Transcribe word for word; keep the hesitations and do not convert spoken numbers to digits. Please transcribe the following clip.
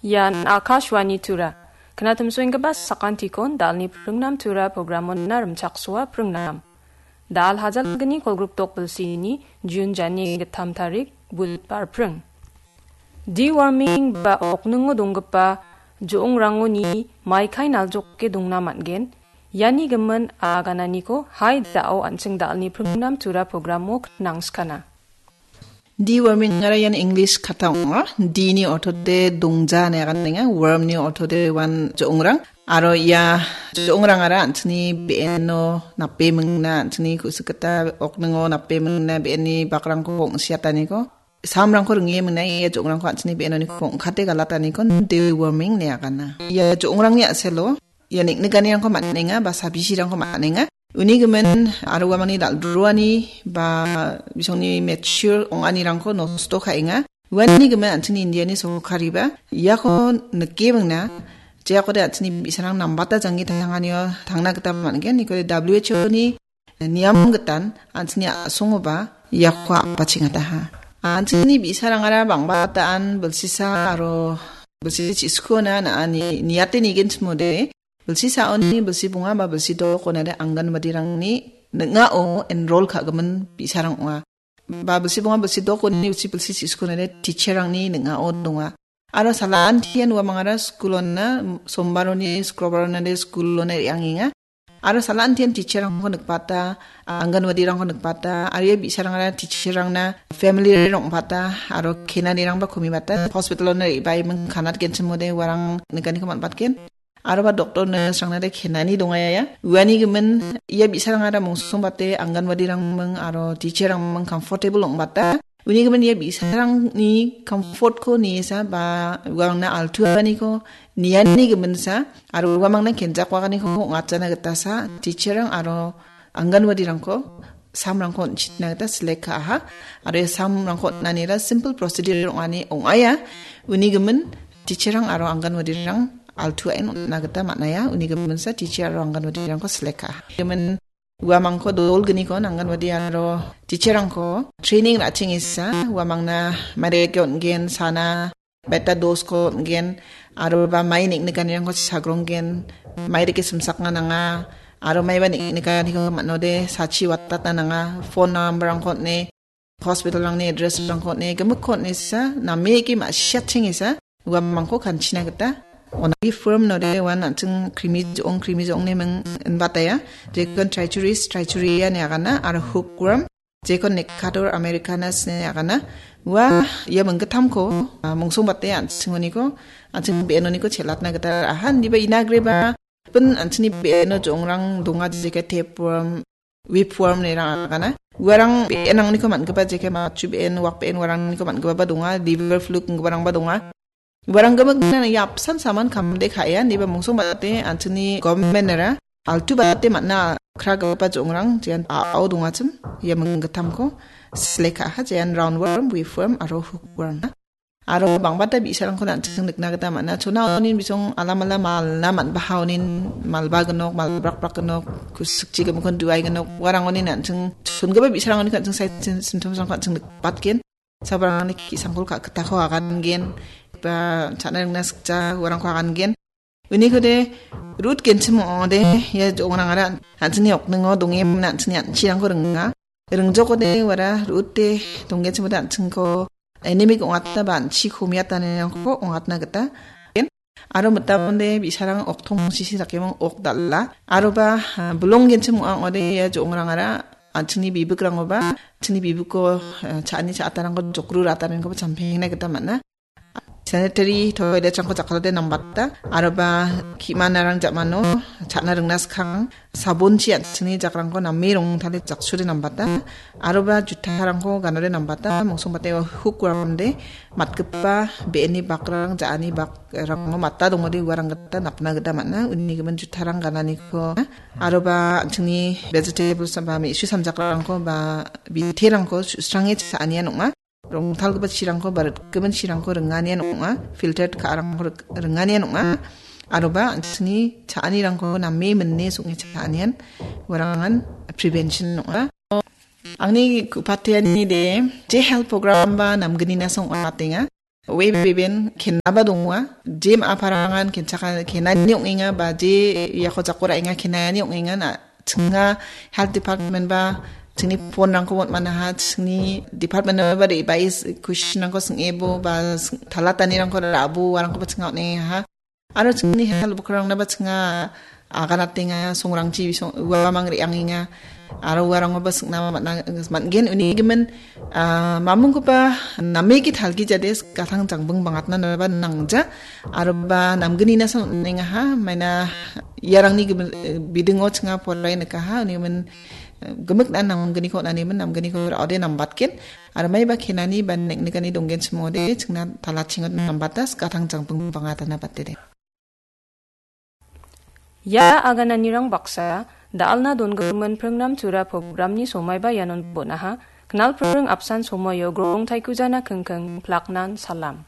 Ian Akashvani Tura. Knatimsoenggipa sakantikon dalni pringnam Tura programon na rimchaksoa pringnam. Dal hajalgni kolgrikdok bilsini Jun jani gittam tarik, Budbar pring. Deworming ba okningo donggipa jo·ongrangoni maikai naljoke dongna man·gen. Iani gimin agananiko hai da·o an·ching dalni pringnam Tura programo knangskana. Deworming ara ian English kata ong·a. D ni ortode dongja ine aganenga. Worm ni ortode uan jo·ongrang. Aro ia jo·ongrangara an·chingni be·eno nape mingna, an·chingni ku·sik gita okningo nape mingna be·eni bakrangko ong·siataniko, samrangko ringe mingna ia jo·ongrangko an·chingni be·enoniko ong·kate galataniko deworming ine agana. Ia jo·ongrangni a·selo ia neng·nikanirangko man·enga ba sabisirangko man·enga. Uni gimin aro uamangni dal·droani ba bisongni mature ong·anirangko nosto ka·enga. Uani gimin an·chingni Indiani sorkariba iako nike mingna, jeakode an·chingni bi·sarang nambata janggi tanganio tangna gita man·gen. Nikode W H O ni niam gitan an·chingni a·songoba iako apachengataha. An·chingni bi·sarangara bang·bata an bilsisa aro bilsi chiskuona na·ani niate nigenchimode, bilsi saoni bilsi bonga ba bilsi dok onade Anganwadirangni ning·ao enroll ka·gimin bi·sarang ong·a. Ba bilsi bonga bilsi dok oni bilsi bilsi chiskuonade teacherrangni ning·ao donga. Aro sala antian uamangara skulona, sombaroni, skrobaronade skulona re·angenga. Aro sala antian teacherrangko nikbata, Anganwadirangko nikbata, aro ia bi·sarangara teacherrangna family rong·bata, aro kenanirangba komibata, hospitalona re·baiming kanat genchimode uarang nikaniko man·batgen. Aroba doctor nurse-rangna de kenani dongaia. Uani gimin ia bi·sarangara mongsongbate Anganwadirangming aro teacherrangming comfortable ong·bata. Uni gimin ia bi·sarangni comfortko niesa ba uangna altuaaniko niani giminsa aro uamangna kenjakwaganiko ong·atjana gitasa teacherrang aro Anganwadirangko samrangko on·chitna gita select ka·aha. Aro ia samrangko on·anira simple procedure ong·ani ong·aia. Uni gimin teacherrang aro Anganwadirang altuaen on·na gita man·aia. Uni giminsa teacher aro Anganwadirangko select ka·aha. Gimin uamangko dolgniko Anganwadi aro teacherrangko training ra·chengesa uamangna mairake on·gen sana beta dosko on·gen, aroba mai neng·nikanirangko sagronggen, mai rike simsakna nanga, aro maiba neng·nikaniko man·ode sachi watatna nanga, phone number-rangko on·e, hospital-rangni address-rangko on·e, gimikko on·e sisa, nameke ma·siatchengesa, uamangko kanchina gita on·a. Firm node uan an·ching krimi jo·ong, krimi jo·ong ne ming inbataya, jekon trichuris, trichuria ne agana, aro hookworm, jekon Necator americanus ine agana. Ua ia minggittamko, ah, mongsongbate an·chingoniko, an·ching be·enoniko chelatna gita ra·aha. Indiba inagreba pin an·chingni be·eno jo·ongrang donga, jeke tapeworm, whipworm nerang agana. Uarang be·enrangniko man·gipa jeke matchu be·en, wak be·en uarangniko man·gipaba donga, liver fluke inggiparangba donga. Uarang gimikna ia apsan saman kamde ka·ea, indiba mongsongbate an·chingni government-era altubate man·a kragipa jo·ongrang jean a·ao dongachim, ia minggittamko select ka·aha, jean roundworm, whipworm aro hookworm. Aro bang·bata bi·sarangko an·ching nikna gita man·a. Chona onin bisong alamala malna man·baha onin malba gnok, malbrakbrak gnok, kusikchi gimikkon duai gnok, uarang onin an·ching chongipa bi·sarang onin an·ching side syn-, symptoms-rangko an·ching nikbatgen. Sabarangni ki·sangkol ka·gitako agangen, ba cha·na ringna sikja uarangko agangen. Unikode rut genchim ong·ode ia jo·ongrangara an·chingni okningo donge an·chingni an·chirangko ringa. Ringjokode uara rute donggenchimode an·chingko anemic ong·atna ba an·chi komiatanirangko ong·atna gita. Aro mitamde bi·sarang oktong sisi dakeming ok dal·a. Aroba, ah, bilong genchim ong·a ong·ode ia jo·ongrangara an·chingni bibikrangoba, an·chingni bibiko, eh, cha·ani cha·atarangko jokru ra·atarangkoba champengna gita man·a. Sanitary toilet-rangko jakkalode nambata, aroba ki·manarang ja·mano cha·na ringna skang, sabonchi an·chingni jakrangko name rongtale jaksure nambata, aroba jutarangko ganode nambata, mongsongbate ua hookworm-de matgipa be·eni bakrang, ja·ani bakrango mata dongode uarang gita napna gita man·a, uni gimin jutarang gananiko, aroba an·chingni vegetables ba me·su samjakrangko ba biterangko su·srange cha·anian ong·a. Rongtalgipa chirangko ba ritgimin chirangko ringanian ong·a, filtered ka·arangko rik-, ringanian ong·a, aroba an·chingni cha·anirangko name mine song·e cha·anian uarangan prevention ong·a. Angni ku·pateanide je health program ba namgnina song ong·atenga. Oe beben kenaba donga. Jem aparangan kenchaka kenani ong·enga ba je iako jakora enga kenani ong·enga na chinga health department ba chingni phone rangko mot manaha chingni department ba de bais question rangko sing ebo ba talatani rangko rabu warangko ba chinga ong·enga ha. Aro chingni health bukrangna ba chinga aganatenga songrangchi bisong uamang re angenga. Aro uarango ba singna man-, man-, man-, gen uni gimin, ah, mamungkoba nameki talgi jades katang jangbing bangatna naba nangja. Aro ba namgini nasan nengaha, maina iarangni gimin, eh, bidingo chinga porai nekaha, uni gimin, eh, gemik dan namgini ko nani min namgini ko ode nambatkin. Aro mai ba kenani ba nek-, nekani donggen chimode, chingna talachingot nambatas katang jangbing bangatna batede. Ia agananirang baksa, da·alna dongimin pringnam tura programni somaiba ianon bonaha, knal pring apsan somoio grong taikujana kengkeng plaknan salam.